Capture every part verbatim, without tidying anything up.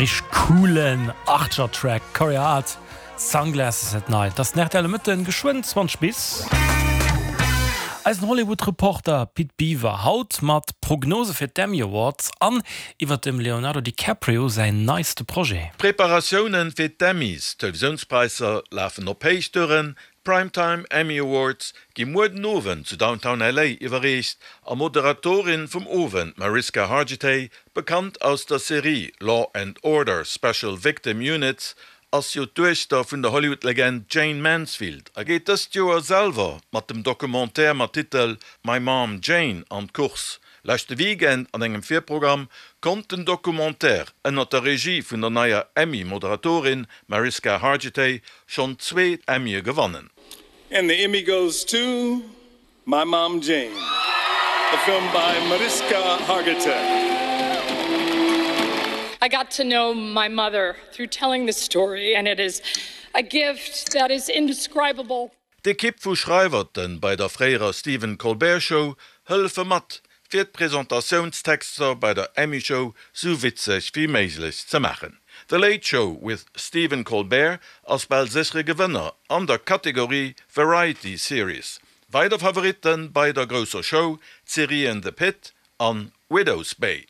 Richteg coolen Archer-Track Corey Hart Sunglasses at Night. Dat ass R T L Mëtten geschwënn zwanzeg bis. Eisen Hollywood-Reporter Pit Biwer haut mat Prognose fir d'Emmy Awards an iwwer dem Leonardo DiCaprio säin neiste Projet. Preparatiounen fir d'Emmys, Televisiounspräisser lafen op Héichtouren, Primetime Emmy Awards gi muer den Owend zu Downtown L A iwwerreecht a Moderatorin vum Owend Mariska Hargitay, bekannt aus der Serie Law and Order Special Victim Units, ass jo d'Duechter vun der Hollywood-Legend Jayne Mansfield a geet dëst Joer selwer mat dem Documentaire mat Titel My Mom Jayne an d'Course. Leschte Weekend an engem Virprogramm konnt den Documentaire ënner der Regie vun der neier Emmy-Moderatorin Mariska Hargitay schonn zwee Emmye gewannen. And the Emmy goes to My Mom Jayne, a film by Mariska Hargitay. I got to know my mother through telling the story, and it is a gift that is indescribable. D'Ekipp vu Schreiwerten bei der fréierer Stephen Colbert Show hëllefe mat, fir d'Presentatiounstexter bei der Emmy Show sou witzeg wéi méiglech ze maachen. The Late Show with Stephen Colbert ass bal séchere Gewënner an der Kategorie Variety Series. Weider Favoritten bei der grousser Show d'Serien The Pitt an Widow's Bay.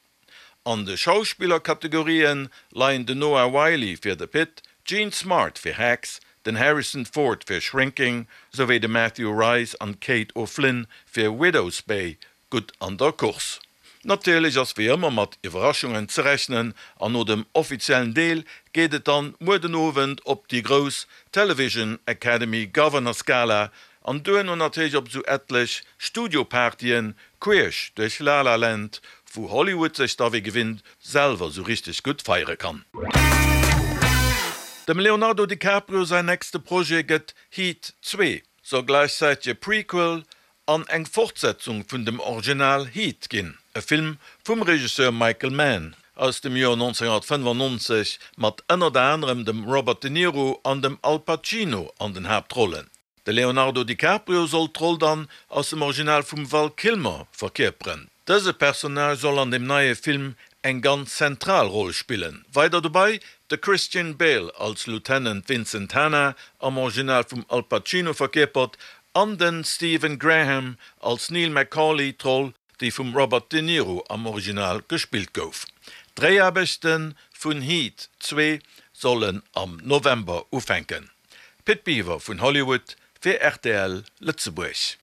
An de Schauspillerkategorien leien den Noah Wyle fir The Pitt, Jean Smart fir Hacks, den Harrison Ford fir Shrinking, souwéi de Matthew Rhys an Kate O'Flynn fir Widow's Bay gutt an der Course. Natierlech ass wéi ëmmer mat Iwwerraschungen ze rechnen an no dem offiziellen Deel geet et dann muer den Owend op déi grouss Television Academy Governors Gala an duerno natierlech op sou etlech Studiopartyen queesch duerch La La Land, wou Hollywood sech da wéi gewinnt selwer sou richteg gutt feiere kann. Dem Leonardo DiCaprio säin nächste Projet gëtt Heat zwee, soll gläichzäiteg e Prequel an eng Fortsetzung vun dem Original Heat ginn, e Film vum Regisseur Michael Mann aus dem Joer nonzénghonnertfënnefannonzeg mat ënnert anerem dem Robert De Niro an dem Al Pacino an den Haaptrollen. De Leonardo DiCaprio soll d'Roll dann aus dem Original vum Val Kilmer verkierperen. Dëse Personnage soll an dem neie Film eng ganz zentral Roll spillen. Weider dobäi de Christian Bale als Lieutenant Vincent Hanna, am Original vum Al Pacino verkierpert, an den Stephen Graham als Neil McCauley, d'Roll, déi vum Robert De Niro am Original gespillt gouf. D'Dréiaarbechte vun Heat zwee sollen am November ufänken. Pit Biwer vun Hollywood fir R T L Lëtzebuerg.